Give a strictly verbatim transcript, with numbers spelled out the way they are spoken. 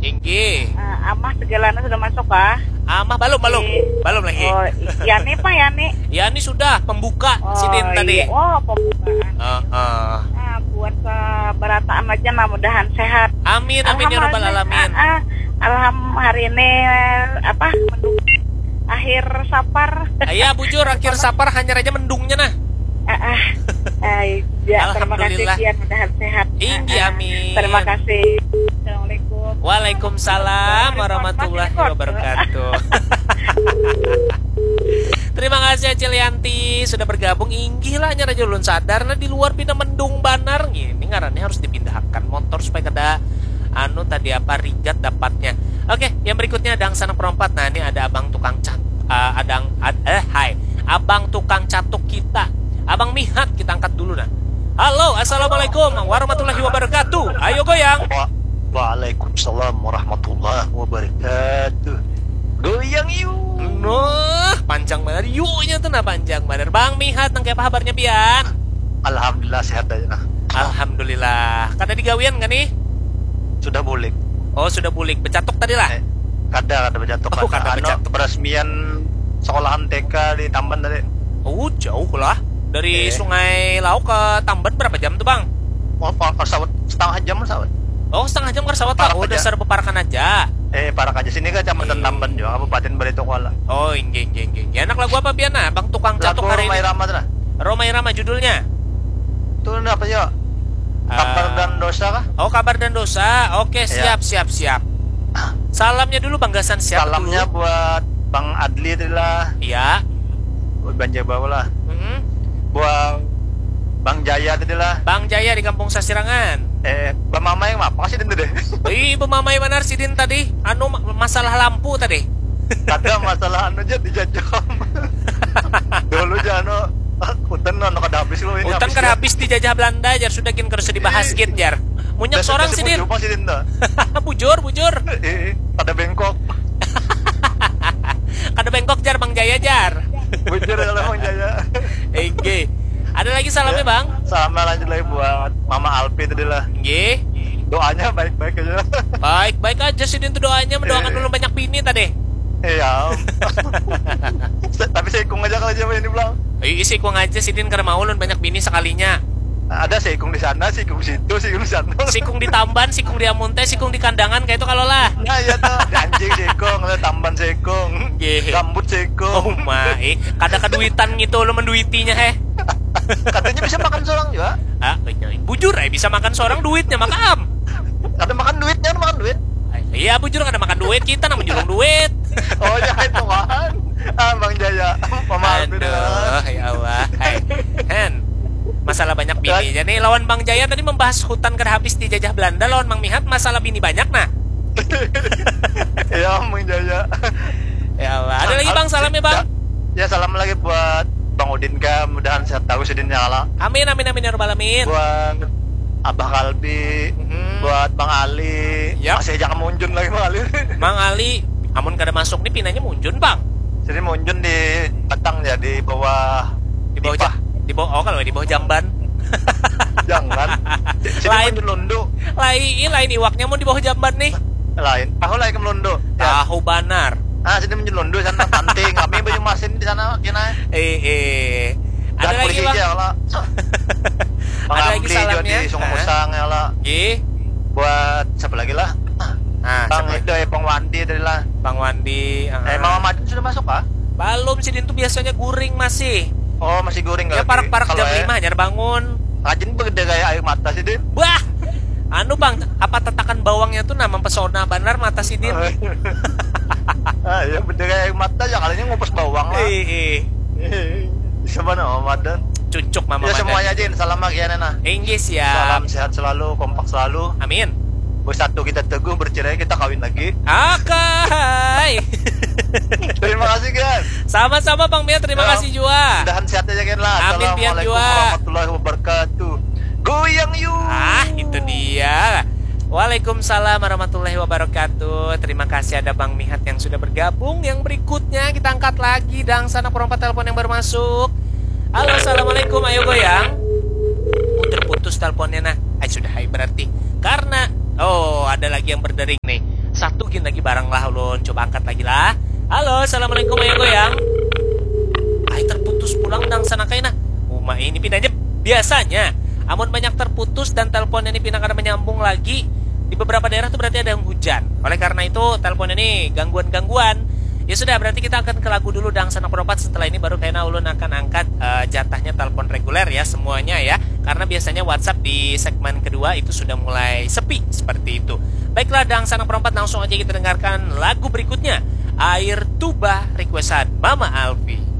Inggih. Eh, Amah segalanya sudah masuk kah? Amah balum, balum. Inggih. Balum lagi. Oh, Yani apa Yani? Yani sudah pembuka oh, sidin tadi. Iya. Oh, pembukaan. Uh, uh. Nah, buat berataan aja lah, mudahan sehat. Amin, amin ya rabbal alamin. Uh, uh, alham hari ini apa? Akhir sapar. Iya, bujur, akhir sapar hanyar aja mendungnya nah. Ah, ah. Ay, ya, terima kasih Alhamdulillah. Kian, mudahan sehat. Inggih, Ah, ah. Amin. Terima kasih. Assalamualaikum. Waalaikumsalam warahmatullahi wabarakatuh. Terima kasih Acil Yanti sudah bergabung. Inggih lah, hanyar aja ulun sadar nah, di luar pina mendung banar. Ini ngarannya harus dipindahkan motor supaya kada anu tadi apa, rigat dapatnya. Oke, yang berikutnya ada sanak perompat. Nah, ini ada abang tukang cat, uh, adang ad, eh hai, abang tukang catuk kita, abang Mihat, kita angkat dulu nah. Halo, assalamualaikum warahmatullahi wabarakatuh. Ayo goyang. Wa Waalaikumsalam warahmatullahi wabarakatuh. Goyang yuk. Nah, panjang banget yuknya tuh nah, panjang banget. Bang Mihat, nang kayak apa kabarnya pian? Alhamdulillah sehat aja nah. Alhamdulillah. Kada digawian kan nih? Sudah bulik. Oh, sudah bulik. Becatuk tadi lah. Eh, kada, kada becatuk. Oh, kada, kada becatuk. Beresmian sekolahan T K di Tamban tadi. Oh, jauh lah. Dari eh. Sungai Lauk ke Tamban berapa jam tuh, Bang? Oh, pesawat setengah jam pesawat. Oh, setengah jam ke pesawat. Oh, dasar beparakan aja. Eh, parak aja sini ke Kecamatan eh. Tamban juga, Kabupaten Barito Kuala. Oh, inggih, inggih, inggih. Anak lagu apa pian nah, Bang tukang catuk hari ini? Roma Irama tuh nah. Roma Irama judulnya. Tuh apa ya? Kabar dan dosa kah? Oh, kabar dan dosa. Oke, iya. Siap, siap, siap. Salamnya dulu Bang Gasan siapa Salamnya dulu? Buat Bang Adli tadi lah. Iya. Buat Bang Jawa lah. Mm -hmm. Buat Bang Jaya tadi lah. Bang Jaya di Kampung Sasirangan. Eh, Bang Mama yang apa sih itu deh? Ih, Bang Mama yang mana sidin tadi? Anu masalah lampu tadi. Ada masalah anu aja dijajah. Dulu aja anu Utan anu kada habis lo ini. Utan kada habis dijajah Belanda jar, sudah gin kada usah dibahas gin jar. Munyak sorang sidin. Bujur sidin ta. Bujur, bujur. Kada bengkok. Kada bengkok jar Bang Jaya jar. Bujur kalau Bang Jaya. Oke. Ada lagi salamnya ya, Bang? Salamnya lanjut lagi buat Mama Alpi tadi lah. Nggih. Doanya baik-baik aja. Baik-baik aja sidin tuh doanya, mendoakan eh. Dulu banyak bini tadi. Iya. Tapi saya ikung aja kalau siapa ini bilang. Ih, isi ikung aja sidin karena mau ulun banyak bini sekalinya. Ada seikung di sana, seikung situ, seikung di sana. Sikung di Tamban, sikung di Amunte, sikung di Kandangan kayak itu kalau lah. Nah, iya tuh, anjing seikung, tamban seikung, gambut seikung. Oh my, kada keduitan gitu lo menduitinya heh. Katanya bisa makan seorang juga. Ah, bujur eh bisa makan seorang duitnya makam. Kada makan duitnya, makan duit. Iya, bujur kada makan duit, kita nang menjulung duit. Oh, ya itu kan. Ah, Bang Jaya. Pemahaman. Aduh, ya Allah. Hai. Hen. Masalah banyak bini aja nih lawan Bang Jaya tadi membahas hutan kada habis dijajah Belanda lawan Mang Mihat masalah bini banyak nah. Ya Mang Jaya. Ya Allah. Ada lagi Bang salam ya Bang. Ya, ya salam lagi buat Bang Udin kah, mudahan sehat tahu sidin ya Allah. Amin amin amin ya rabbal alamin. Buat Abah Kalbi, hmm. Buat Bang Ali. Yep. Masih jangan munjun lagi Bang Ali. Bang Ali, amun kada masuk nih pinanya munjun Bang. Jadi munjun di batang ya di bawah di bawah ja, di bawah oh kalau di bawah jamban. Jangan. Sini lain lundu. Lain, lain iwaknya mau di bawah jamban nih. Lain. Tahu lain lundu. Ya. Tahu banar. Ah, sini menyelundu sana panting. Kami banyak masin di sana kena. Eh, eh. Ada lagi bang. Ada lagi salamnya. Di Sungai Musang ya lah. Gih. Buat siapa lagi lah? Nah, Bang itu ya Bang Wandi tadi lah. Bang Wandi. Uh. Eh, Mama Madin sudah masuk kah? Belum sih, Din tuh biasanya guring masih. Oh, masih guring. Ya parak-parak jam lima hanya bangun. Rajin begede kayak air mata sih, Din. Wah, anu bang, apa tatakan bawangnya tuh nama pesona benar mata si Din. Ah, ya beda kayak air mata ya kalinya ngupas bawang lah. Eh, eh. Bisa mana Mama Madan? Cucuk Mama ya, Madan. Semuanya aja salam lagi ya Nena. Inggih ya. Salam sehat selalu, kompak selalu. Amin. Bersatu kita teguh, bercerai kita kawin lagi. Oke. Terima kasih Gan. Sama-sama Bang Mia, terima ya, kasih juga. Mudahan sehat aja Gan lah. Amin Pian juga. Assalamualaikum warahmatullahi wabarakatuh. Goyang yuk. Ah, itu dia. Waalaikumsalam warahmatullahi wabarakatuh. Terima kasih ada Bang Mihat yang sudah bergabung. Yang berikutnya kita angkat lagi dang sana perompat telepon yang baru masuk. Halo, assalamualaikum. Ayo goyang. Oh, terputus teleponnya nah. Ay, sudah hai berarti. Karena oh, ada lagi yang berdering nih. Satu gin lagi barang lah ulun. Coba angkat lagi lah. Halo, assalamualaikum, Ayah Goyang. Ai, terputus pulang dangsanak ai nah. Uma ini pinanya biasanya. Amun banyak terputus dan teleponnya ini pina kada menyambung lagi, di beberapa daerah tuh berarti ada yang hujan. Oleh karena itu, teleponnya ini gangguan-gangguan. Ya sudah, berarti kita akan ke lagu dulu dangsanak perompat. Setelah ini baru kayaknya ulun akan angkat eh, jatahnya telepon reguler ya semuanya ya. Karena biasanya WhatsApp di segmen kedua itu sudah mulai sepi seperti itu. Baiklah dangsanak perompat, langsung aja kita dengarkan lagu berikutnya. Air Tuba, requestan Mama Alfi.